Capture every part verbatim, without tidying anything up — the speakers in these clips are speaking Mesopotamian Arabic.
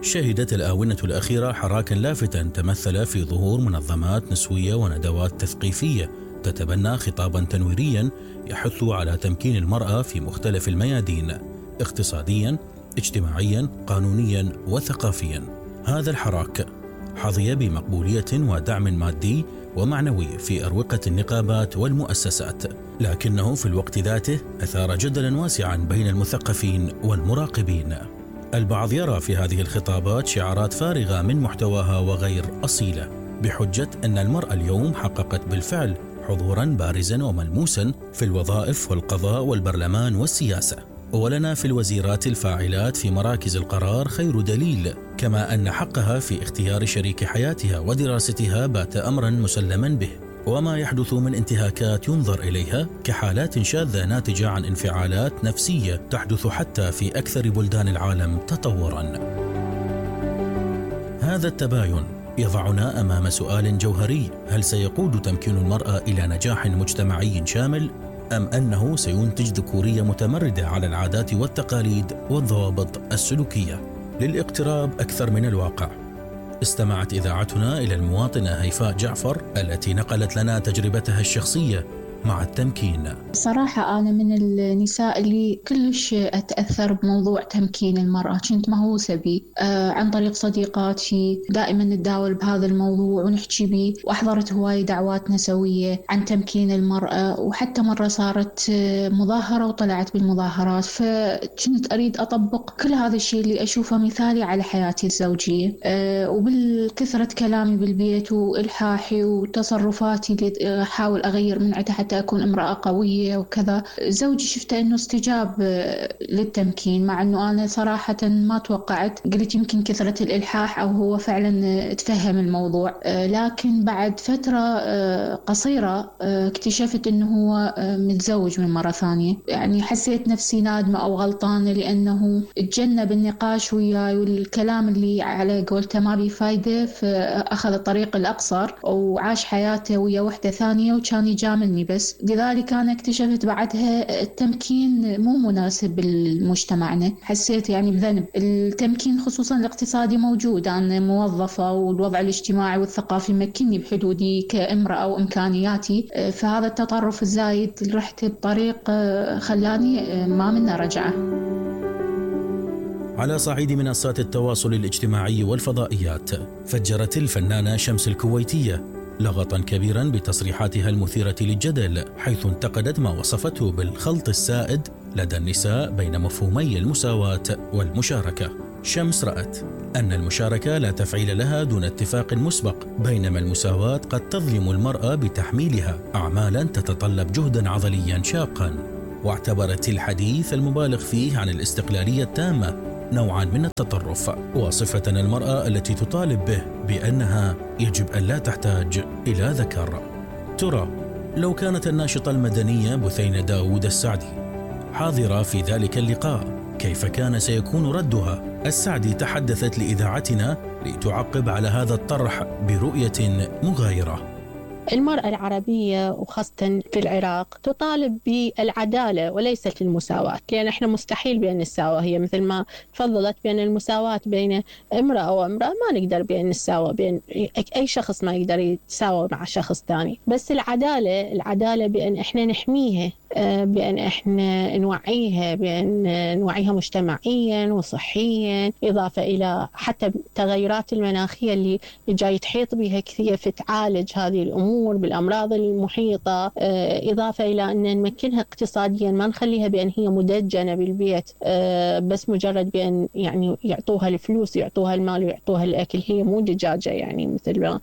شهدت الآونة الأخيرة حراكا لافتا تمثل في ظهور منظمات نسوية وندوات تثقيفية تتبنى خطابا تنويريا يحث على تمكين المرأة في مختلف الميادين اقتصاديا، اجتماعيا، قانونيا وثقافيا. هذا الحراك حظي بمقبولية ودعم مادي ومعنوي في أروقة النقابات والمؤسسات، لكنه في الوقت ذاته أثار جدلا واسعا بين المثقفين والمراقبين. البعض يرى في هذه الخطابات شعارات فارغة من محتواها وغير أصيلة، بحجة أن المرأة اليوم حققت بالفعل حضورا بارزا وملموسا في الوظائف والقضاء والبرلمان والسياسة، ولنا في الوزيرات الفاعلات في مراكز القرار خير دليل، كما أن حقها في اختيار شريك حياتها ودراستها بات أمرا مسلما به. وما يحدث من انتهاكات ينظر إليها كحالات شاذة ناتجة عن انفعالات نفسية تحدث حتى في أكثر بلدان العالم تطورا. هذا التباين يضعنا أمام سؤال جوهري: هل سيقود تمكين المرأة إلى نجاح مجتمعي شامل، أم أنه سينتج ذكورية متمردة على العادات والتقاليد والضوابط السلوكية؟ للاقتراب أكثر من الواقع، استمعت إذاعتنا إلى المواطنة هيفاء جعفر التي نقلت لنا تجربتها الشخصية مع التمكين. صراحة أنا من النساء اللي كلش أتأثر بموضوع تمكين المرأة، كنت مهووسة به آه عن طريق صديقاتي، دائما نتداول بهذا الموضوع ونحكي به، وأحضرت هواي دعوات نسوية عن تمكين المرأة، وحتى مرة صارت مظاهرة وطلعت بالمظاهرات، فكنت أريد أطبق كل هذا الشيء اللي أشوفه مثالي على حياتي الزوجية. آه وبالكثرة كلامي بالبيت وإلحاحي وتصرفاتي اللي أحاول أغير من عدها حتى أكون امرأة قوية وكذا، زوجي شفته أنه استجاب للتمكين، مع أنه أنا صراحة ما توقعت، قلت يمكن كثرة الإلحاح أو هو فعلا تفهم الموضوع. لكن بعد فترة قصيرة اكتشفت أنه هو متزوج من مرة ثانية. يعني حسيت نفسي نادمة أو غلطانة لأنه تجنب النقاش وياي والكلام اللي على قولته ما بيه فايدة، فأخذ الطريق الأقصر وعاش حياته ويا وحدة ثانية وكان يجاملني بس. لذلك أنا اكتشفت بعدها التمكين مو مناسب لمجتمعنا، حسيت يعني بذنب. التمكين خصوصا الاقتصادي موجود، أنا موظفة والوضع الاجتماعي والثقافي مكنني بحدودي كامرأة وإمكانياتي، فهذا التطرف الزايد رحت بطريق خلاني ما منا رجعة. على صعيد منصات التواصل الاجتماعي والفضائيات، فجرت الفنانة شمس الكويتية لغطا كبيرا بتصريحاتها المثيرة للجدل، حيث انتقدت ما وصفته بالخلط السائد لدى النساء بين مفهومي المساواة والمشاركة. شمس رأت أن المشاركة لا تفعيل لها دون اتفاق مسبق، بينما المساواة قد تظلم المرأة بتحميلها أعمالا تتطلب جهدا عضليا شاقا، واعتبرت الحديث المبالغ فيه عن الاستقلالية التامة نوعا من التطرف، واصفة المرأة التي تطالب به بأنها يجب أن لا تحتاج إلى ذكر. ترى لو كانت الناشطة المدنية بثينة داود السعدي حاضرة في ذلك اللقاء، كيف كان سيكون ردها؟ السعدي تحدثت لإذاعتنا لتعقب على هذا الطرح برؤية مغايرة. المرأة العربية وخاصة في العراق تطالب بالعدالة وليست المساواة، لأن احنا مستحيل بأن نساوى، هي مثل ما فضلت بأن المساواة بين امرأة وامرأة، ما نقدر بأن نساوى، بأن أي شخص ما يقدر يتساوى مع شخص ثاني. بس العدالة العدالة بأن احنا نحميها، بأن احنا نوعيها، بأن نوعيها مجتمعيا وصحيا، إضافة إلى حتى التغيرات المناخية اللي جاي تحيط بها كثير، فتعالج هذه الأمور بالأمراض المحيطة، إضافة إلى أن نمكنها اقتصاديا، ما نخليها بأن هي مدجنة بالبيت بس مجرد بأن يعني يعطوها الفلوس، يعطوها المال ويعطوها الأكل، هي مو دجاجة يعني مثل ما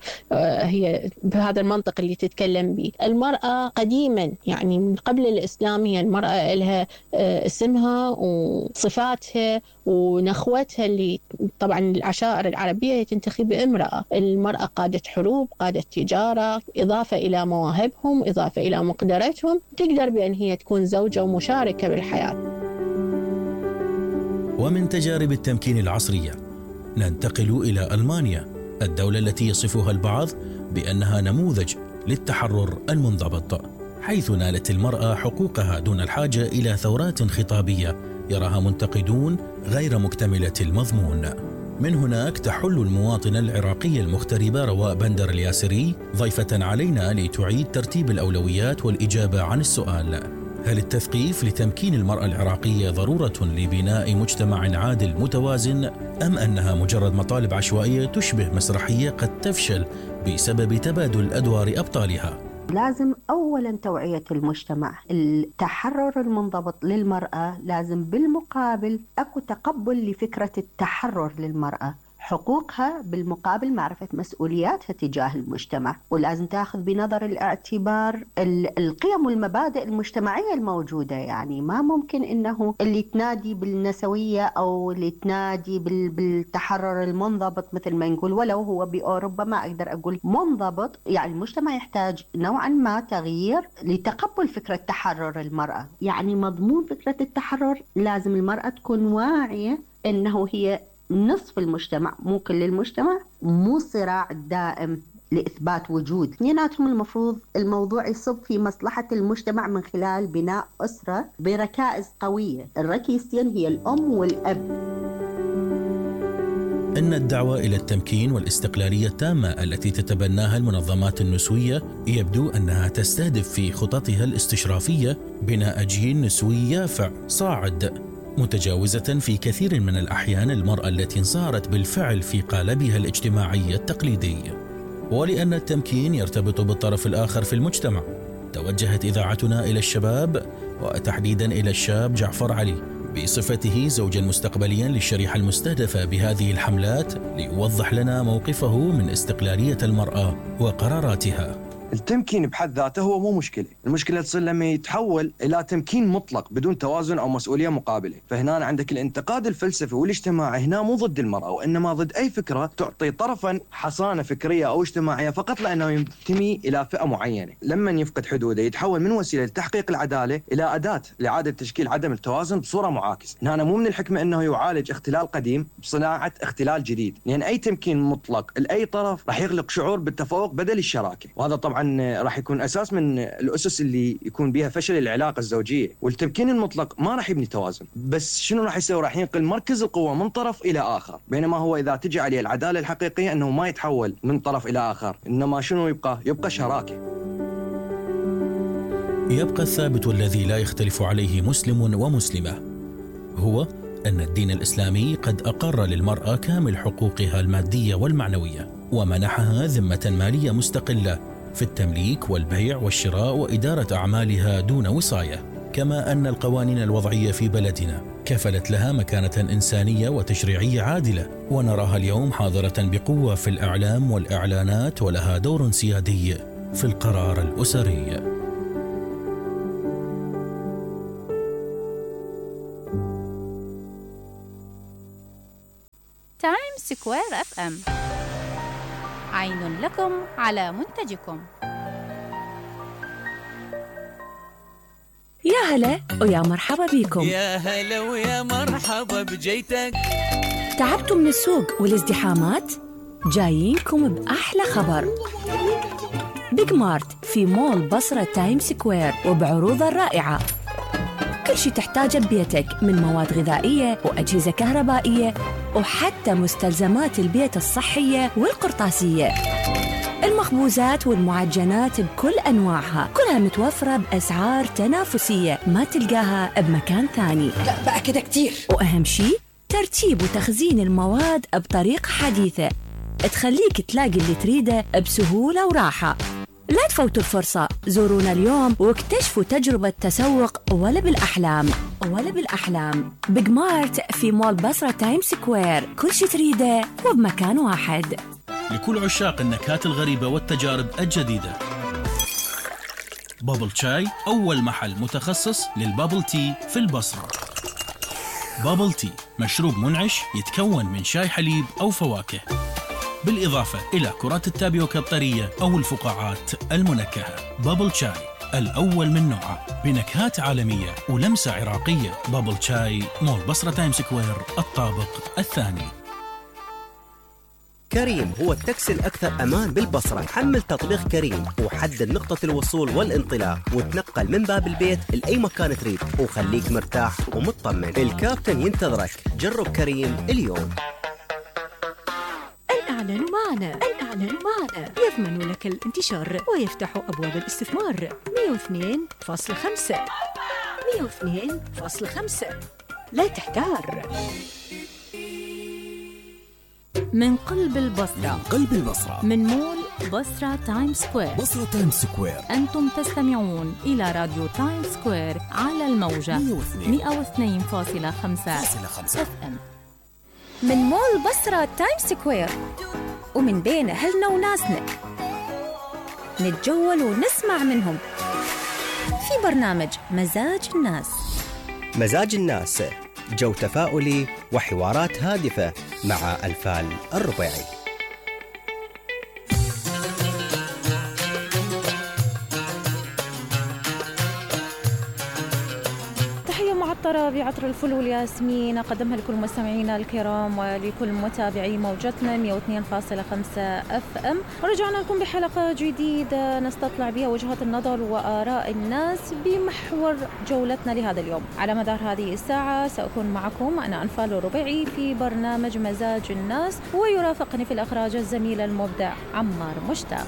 هي بهذا المنطق اللي تتكلم به. المرأة قديما يعني من قبل الإسلام هي المرأة لها اسمها وصفاتها ونخوتها، اللي طبعا العشائر العربية تنتخب امرأة. المرأة قادت حروب، قادت تجارة، إضافة إلى مواهبهم، إضافة إلى مقدرتهم، تقدر بأن هي تكون زوجة ومشاركة بالحياة. ومن تجارب التمكين العصرية ننتقل إلى ألمانيا، الدولة التي يصفها البعض بأنها نموذج للتحرر المنضبط، حيث نالت المرأة حقوقها دون الحاجة إلى ثورات خطابية يراها منتقدون غير مكتملة المضمون. من هناك تحل المواطنة العراقية المغتربة رواء بندر الياسري ضيفة علينا لتعيد ترتيب الأولويات والإجابة عن السؤال: هل التثقيف لتمكين المرأة العراقية ضرورة لبناء مجتمع عادل متوازن، أم أنها مجرد مطالب عشوائية تشبه مسرحية قد تفشل بسبب تبادل أدوار أبطالها؟ لازم أولا توعية المجتمع. التحرر المنضبط للمرأة لازم بالمقابل أكو تقبل لفكرة التحرر للمرأة، حقوقها بالمقابل معرفة مسؤولياتها تجاه المجتمع، ولازم تأخذ بنظر الاعتبار القيم والمبادئ المجتمعية الموجودة. يعني ما ممكن إنه اللي تنادي بالنسوية أو اللي تنادي بالتحرر المنضبط مثل ما نقول، ولو هو بأوروبا ما أقدر أقول منضبط. يعني المجتمع يحتاج نوعا ما تغيير لتقبل فكرة تحرر المرأة. يعني مضمون فكرة التحرر لازم المرأة تكون واعية إنه هي نصف المجتمع، مو كل المجتمع، مو صراع دائم لإثبات وجود. اثنيناتهم المفروض الموضوع يصب في مصلحة المجتمع من خلال بناء أسرة بركائز قوية. الركيزتين هي الأم والأب. إن الدعوة إلى التمكين والاستقلالية التامة التي تتبناها المنظمات النسوية يبدو أنها تستهدف في خططها الاستشرافية بناء جيل نسوي يافع صاعد، متجاوزة في كثير من الأحيان المرأة التي انصهرت بالفعل في قالبها الاجتماعي التقليدي. ولأن التمكين يرتبط بالطرف الآخر في المجتمع، توجهت إذاعتنا إلى الشباب، وتحديدا إلى الشاب جعفر علي بصفته زوجا مستقبليا للشريحة المستهدفة بهذه الحملات، ليوضح لنا موقفه من استقلالية المرأة وقراراتها. التمكين بحد ذاته هو مو مشكلة، المشكلة تصير لما يتحول إلى تمكين مطلق بدون توازن أو مسؤولية مقابلة. فهنا عندك الانتقاد الفلسفي والاجتماعي هنا مو ضد المرأة، وإنما ضد أي فكرة تعطي طرفا حصانة فكرية أو اجتماعية فقط لأنه ينتمي إلى فئة معينة. لما يفقد حدوده يتحول من وسيلة لتحقيق العدالة إلى أداة لإعادة تشكيل عدم التوازن بصورة معاكسة. هنا مو من الحكمة أنه يعالج اختلال قديم بصناعة اختلال جديد، لأن أي تمكين مطلق لأي طرف راح يخلق شعور بالتفوق بدل الشراكة، وهذا طبعا راح يكون أساس من الأسس اللي يكون بها فشل العلاقة الزوجية. والتمكين المطلق ما راح يبني توازن، بس شنو راح يسوي؟ راح ينقل مركز القوة من طرف إلى آخر. بينما هو إذا تجي عليه العدالة الحقيقية أنه ما يتحول من طرف إلى آخر، إنما شنو يبقى؟ يبقى شراكة. يبقى الثابت الذي لا يختلف عليه مسلم ومسلمة، هو أن الدين الإسلامي قد أقر للمرأة كامل حقوقها المادية والمعنوية، ومنحها ذمة مالية مستقلة في التمليك والبيع والشراء وإدارة أعمالها دون وصاية. كما أن القوانين الوضعية في بلدنا كفلت لها مكانة إنسانية وتشريعية عادلة، ونراها اليوم حاضرة بقوة في الإعلام والإعلانات، ولها دور سيادي في القرار الأسري. تايم سكوير اف ام، عين لكم على منتجكم. يا هلا ويا مرحبا بيكم. يا هلا ويا مرحبا بجيتك. تعبتوا من السوق والازدحامات؟ جايينكم بأحلى خبر. بيج مارت في مول بصرة تايم سكوير وبعروضه الرائعة. كل شي تحتاجه ببيتك من مواد غذائية وأجهزة كهربائية وحتى مستلزمات البيت الصحية والقرطاسية. المخبوزات والمعجنات بكل أنواعها كلها متوفرة بأسعار تنافسية ما تلقاها بمكان ثاني. لا بقى كده كتير. وأهم شي ترتيب وتخزين المواد بطريقة حديثة تخليك تلاقي اللي تريده بسهولة وراحة. لا تفوتوا الفرصة، زورونا اليوم واكتشفوا تجربة تسوق ولا بالأحلام ولا بالأحلام. بيج مارت في مول بصرة تايم سكوير، كل شي تريده وبمكان واحد. لكل عشاق النكهات الغريبة والتجارب الجديدة، بابل شاي أول محل متخصص للبابل تي في البصرة. بابل تي مشروب منعش يتكون من شاي حليب أو فواكه، بالإضافة إلى كرات التابيوكا الطرية أو الفقاعات المنكهة. بابل شاي الأول من نوعه بنكهات عالمية ولمسة عراقية. بابل شاي، مول بصرة تايم سكوير، الطابق الثاني. كريم هو التاكسي الأكثر أمان بالبصرة. حمل تطبيق كريم وحدد نقطة الوصول والانطلاق وتنقل من باب البيت لأي مكان تريد، وخليك مرتاح ومطمن. الكابتن ينتظرك. جرب كريم اليوم. الإعلان معنا الإعلان معنا يضمن لك الانتشار ويفتح أبواب الاستثمار. مئة واثنين فاصلة خمسة مئة واثنين فاصلة خمسة لا تحتار. من قلب البصرة من قلب البصرة من مول بصرة تايم سكوير بصرة تايم سكوير أنتم تستمعون إلى راديو تايم سكوير على الموجة مئة واثنين فاصلة خمسة اف ام. من مول بصرة تايم سكوير ومن بين أهلنا وناسنا نتجول ونسمع منهم في برنامج مزاج الناس. مزاج الناس، جو تفاؤلي وحوارات هادفة مع أنفال الربيعي. معطرة بعطر الفل والياسمين أقدمها لكل مستمعينا الكرام ولكل متابعي موجتنا مئة واثنين فاصلة خمسة اف ام. رجعنا لكم بحلقة جديدة نستطلع بها وجهات النظر وآراء الناس بمحور جولتنا لهذا اليوم. على مدار هذه الساعة سأكون معكم أنا أنفال الربيعي في برنامج مزاج الناس، ويرافقني في الإخراج الزميل المبدع عمار مشتاق.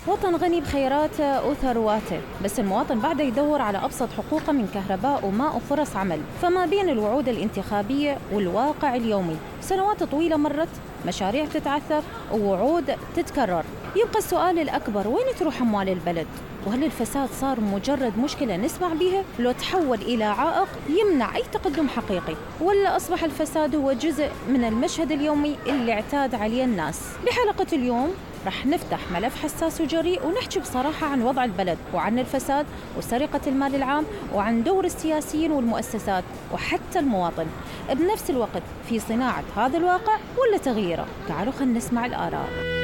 وطن غني بخيراته وثرواته، بس المواطن بعده يدور على أبسط حقوقه من كهرباء وماء وفرص عمل. فما بين الوعود الانتخابية والواقع اليومي سنوات طويلة مرت، مشاريع تتعثر ووعود تتكرر. يبقى السؤال الأكبر، وين تروح أموال البلد؟ وهل الفساد صار مجرد مشكلة نسمع بها لو تحول إلى عائق يمنع أي تقدم حقيقي، ولا أصبح الفساد هو جزء من المشهد اليومي اللي اعتاد عليه الناس؟ بحلقة اليوم رح نفتح ملف حساس وجريء ونحكي بصراحة عن وضع البلد وعن الفساد وسرقة المال العام وعن دور السياسيين والمؤسسات وحتى المواطن بنفس الوقت في صناعة هذا الواقع ولا تغييره. تعالوا خلينا نسمع الآراء.